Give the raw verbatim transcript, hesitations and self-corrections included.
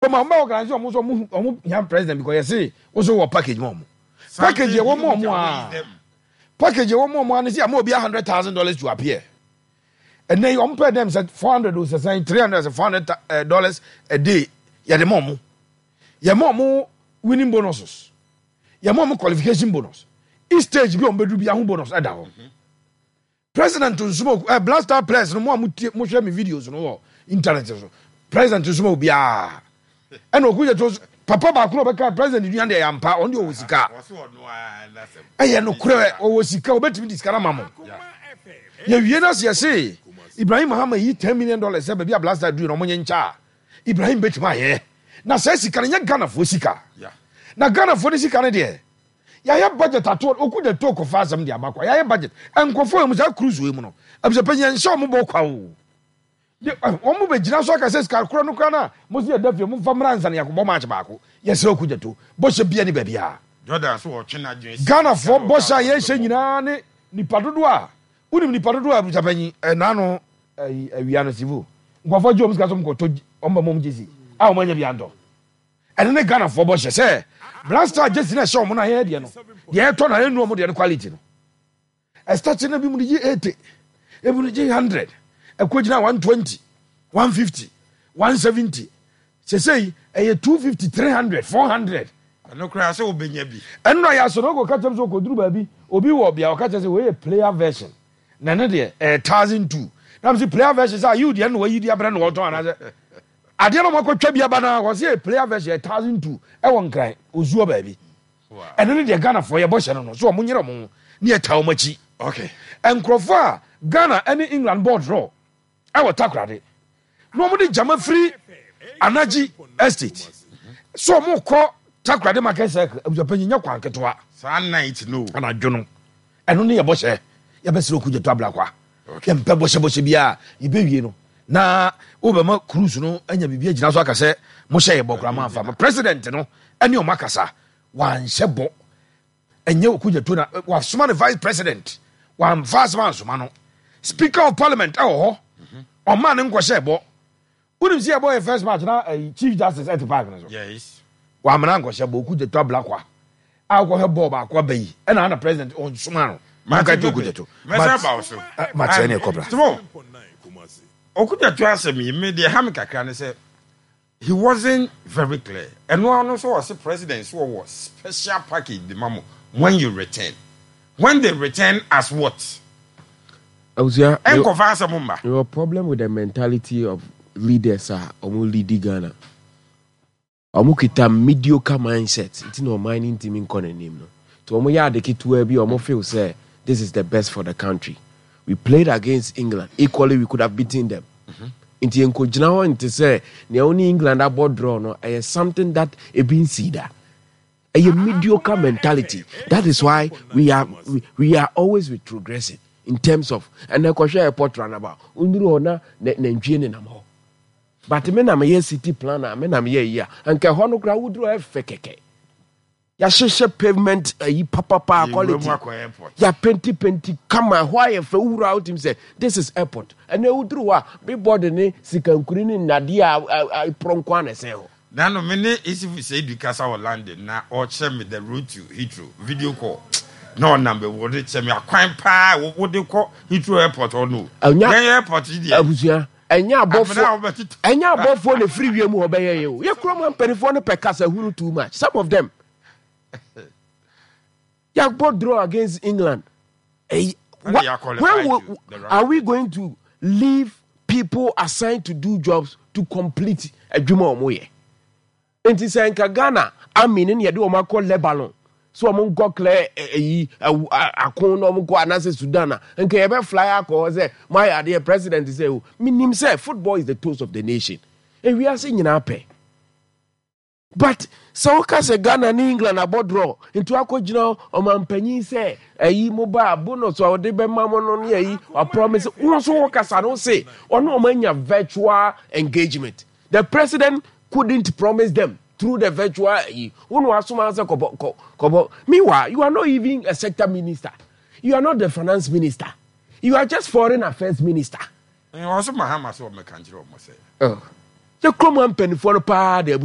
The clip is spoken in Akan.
Ma ɔmo bɛ organize ɔmo nso, ɔmo ɔmo hia president because yɛse woso wɔ package ma ɔmo. Package yɛ wɔ ma ɔmo a, package yɛ wɔ ma ɔmo a ne sɛ ama obi a hundred thousand dollars to appear. Ɛnɛ yi ɔmo pɛ dɛm sɛ four hundred o, sɛ sɛn, three hundred sɛ four hundred dollars a day yɛde ma ɔmo. Yɛ ma ɔmo winning bonuses, yɛ ma ɔmo qualification bonus, each stage bi a ɔmo bɛduru bi aho bonus ɛda hɔ. President nsoma ɛ Black Star players no mo a mo tie, mo hwɛ mi videos no wɔ internet so, president nsoma obiara. Ɛna Okudzeto papa baako na ɔbɛka president nua deɛ yampa, ɔno deɛ ɔwɔ sika, ɛyɛ nokorɛ, ɔwɔ sika, ɔbɛtumi di sika no ma mo. Yɛwie no ase, yɛse Ibrahim Mahama yi ten million dollars sɛ baabi a Black Star duru na ɔmo nye nkyɛ a Ibrahim bɛtumi ayɛ na saa sika no nyɛ Ghanafoɔ sika, na Ghanafoɔ no sika no deɛ yɛayɛ budget ato. Okudzeto kɔfa asɛm de aba kwa. Yɛayɛ budget nkɔfoɔ yɛ mu saa cruise wei mu no, abusuapanyin, yɛnhyɛ ɔmo bɔ kwa o. Wɔn mo bɛgyina so aka sɛ sika korɔ no kora no a mo si yɛda fie, momfa mmra nsa no yɛakɔbɔ match baako. Yɛsrɛ Okudzeto, bɔhyɛ bia ne baabi a Jordan so wɔtwe n'adwene si Ghanafoɔ bɔhyɛ a yɛhyɛ nyinaa ne nipa dodoɔ a wonim nipa dodoɔ a, abusuapanyin, ɛna no ɛyi awia no sivo nkɔfoɔ gye wɔn sika so nkɔtɔ wɔn bɛ mɔm gyesi a wɔn anya bi antɔ. Ɛno ne Ghanafoɔ bɔhyɛ sɛ Black Star jersey na ɛhyɛ wɔn na yɛyɛ deɛ no deɛ ɛtɔ na ɛnu wɔn deɛ no quality no ɛstart no bi mu de gye eighty, ebi mu de gye hundred, ɛkɔ gyina one twenty, one fifty, one seventy, sesei ɛyɛ two fifty, three hundred, four hundred. Ɛno koraa sɛ wobɛnya bi. Ɛno na yɛ asɔ no ɔkɔ kakyɛm sɛ ɔkɔduru baabi, obi wɔ bea ɔka kyerɛ sɛ wei yɛ player version na ɛno deɛ ɛyɛ thousand two, na mo sɛ player version sɛ ayiw deɛ no wayi di abrɛ na wɔtɔn anaasɛ adeɛ no ɔmo akɔtwa bi aba na wɔsɛ yɛ player version yɛ thousand two ɛwɔ Nkran ozuo baabi. Ɛno ne deɛ Ghanafoɔ yɛbɔ hyɛ no no so ɔmo nyerɛ ɔmo ho ne yɛta ɔmo akyi. Okay nkurɔfoɔ a Ghana ne England bɔɔ draw ɛwɔ Takorade na wɔn de gyama firi Anagye Estate so wɔn kɔ Takoradi Market Circle, abusuapanyin, nyɛ kwan ketewa. Saa night no. Anadwo no, ɛno ne yɛbɔ hyɛ. Yɛbɛsrɛ Okudzeto Ablakwa, yɛmpɛ bɔhyɛbɔhyɛ biara. Yɛbɛwie no na wobɛma cruise no anya biribi agyina so aka sɛ mohyɛ yɛ bɔ koraa moamfa ma president no ɛne ɔmo akasa wanhyɛ bɔ. Ɛnyɛ Okudzeto na wasoma ne vice president, wamfa asɛm ansoma no. Speaker of Parliament ɛwɔ hɔ, ɔma ne nkɔhyɛ bɔ. Wonim sɛ yɛbɔ yɛ first match na ɛyi Chief Justice ɛte park no so. Yes wamena nkɔhyɛ bɔ. Okudzeto Ablakwa a wokɔhwɛ bɔɔl baako aba yi ɛna ana president ɔnsoma no maka gye Okudzeto. Mɛsa ba wo so. Makyerɛ ne ɛkɔbra. Timo Okudzeto asɛm yi, me deɛ ha me kakra ne sɛ he wasn't very clear. Ɛno ano nso ɔse president so ɔwɔ special package de ma mo when you return. When they return as what? Abusua, ɛnkɔfa asɛm mba. Your problem with the mentality of leaders a ɔmo lead Ghana, ɔmo kita mediocre mindset nti na ɔman no ntumi nkɔ n'anim no. Nti ɔmo yɛ ade ketewa bi a, ɔmo feel sɛ this is the best for the country. We played against England equally, we could have beaten them. Nti nkɔgyina hɔ nte sɛ nea ɔne England abɔ draw no, ɛyɛ something that ebi nsi da. Ɛyɛ mediocre mentality. That is why we are we, we are always retrogressing in terms of ɛnɛ kɔhwɛ airport runabout, nduru hɔ na nantwie nenam hɔ. But me na meyɛ city planner, me na meyɛ yi a, nka ɛhɔ no koraa woduru hɔ ɛfɛ kɛkɛ, yɛahyehyɛ pavement ayi papapa quality, yɛapenti penti kama, ɛhɔ ayɛ fɛ. Wowura a wotumi sɛ this is airport. Ɛnɛ woduru hɔ a, billboard ne sikankuri ne nnadeɛ a ɛporɔ nko a na ɛsɛn hɔ. Nano me ne Isifu Seidu kasa wɔ London na ɔkyerɛ me the route to Heathrow, video call na ɔnam bɛ wɔde kyerɛ me akwan paa wode kɔ Heathrow Airport hɔ no. Ɛnya- Yɛn airport yi deɛ abusua, ɛnyɛ amena abɔfoɔ a wobɛtete. Ɛnyɛ abɔfoɔ na efiri wiem hɔ bɛyɛ yɛ o. Yɛ kurom ha mpanimfoɔ no pɛ kasa hunu too much, some of them. Yɛabɔ draw against England. Ɛyi- When wha- they are qualified when will, to the round. Are we going to leave people assigned to do jobs to complete adwuma a wɔn yɛ? Nti sɛ nka Ghana army ne yɛde wɔn akɔ Lebanon so wɔn nkɔ clear ɛyi ako na wɔn kɔ, anaasɛ Sudan a, nka yɛbɛ fly akɔ hɔ sɛ mo ayɛ adeɛ. President sɛ o minim sɛ football is the toast of the nation, ewiase nyinaa pɛ. But sɛ woka sɛ Ghana ne England abɔ draw nti wakɔgyina ɔmampanyin sɛ ɛyi mo ba bonus a ɔde bɛma mo no ne ɛyi wapromise wo nso, wo kasa no se ɔne ɔma anya virtual engagement. The president couldn't promise them through the virtual ɛyi wo na wasoma sɛ kɔbɔ kɔ kɔbɔ. Meanwhile, you are not even a sector minister, you are not the finance minister, you are just foreign affairs minister. Ɔso Mahama sɛ ɔmɛka nkyerɛ ɔmo sɛ Yɛ kurom ha mpanimfoɔ no paa de abusua.